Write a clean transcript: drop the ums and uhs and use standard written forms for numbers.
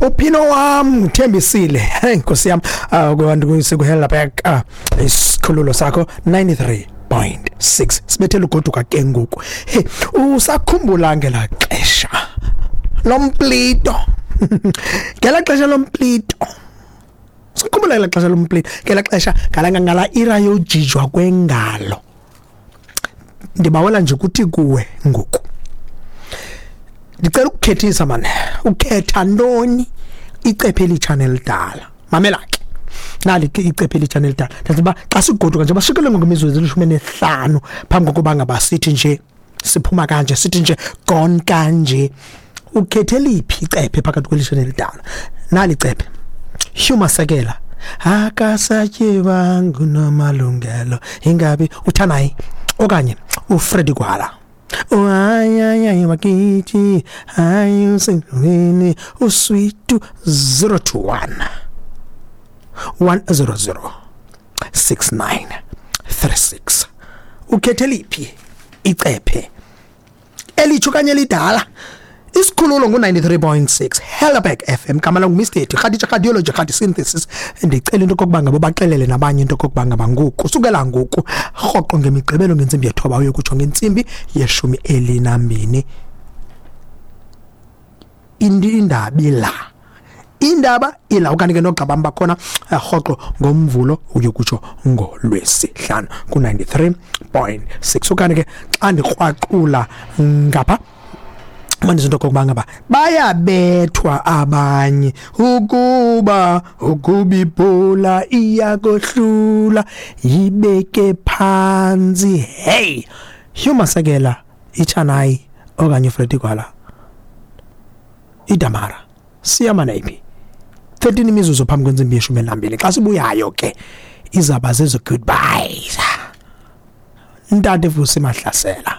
Uphino wam uthembisile. Hey Nkosi yam, kubantu sikuhela back isikhululo sakho 93.6 sibethele ugoduka ke ngoku. Hey, usakhumbula ngela xesha lomplito? Ngela xesha lomplito, sikhumbula ngela xesha lomplito, ngela xesha ngala ira yojijwa kwengalo. Ndibawela nje ukuthi kuwe ngoku, ndicela ukukhethisa mane, ukhetha ntoni, icephe elitsha nelidala? Mamela ke, nali ke icephe elitsha nelidala. Ndathi uba xa sigoduka nje, bashikele ngokwemizuzu eli-15 phambi kokuba ngaba sithi nje siphuma kanje, sithi nje gone kanje, ukhethe liphi icephe phakathi kwelitsha nelidala? Nali icephe, Hugh Masekela, "Akasatyebanga uNomalungelo", ingabi uthanayi, okanye uFreddy Gwala, "Hayi wakithi, hayi usendlini uswitu"? 021 100 6936. Ukhethe liphi icephe, elitsho kanye elidala? Isikhululo ngu-93.6 Helderberg FM. Gama lam nguMr Khadija Radiology Khadi Synthesis. Ndicela into okokuba ngaba baxelele nabanye into okokuba ngaba ngoku, sukela ngoku, rhoqo ngemigqibelo ngentsimbi ye-9 uyokutsho ngentsimbi ye-12, indaba ila, indaba ila. Okanye ke noogxa bam bakhona rhoqo ngoMvulo uyokutsho ngoLwesihlanu ku-93.6. Okanye ke xa ndikrwaqula ngapha, manje into okokuba ngaba bayabethwa abanye ukuba ibhola iyakohlula, yibeke phantsi. Hey, Hugh Masekela, ichanayi, okanye uFreddy Gwala, idamara, siyama nayiphi? 13 imizuzu phambi kwentsimbi ye-12. Xa sibuyayo ke izaba zezo goodbyes. Ntate Vusi Mahlasela.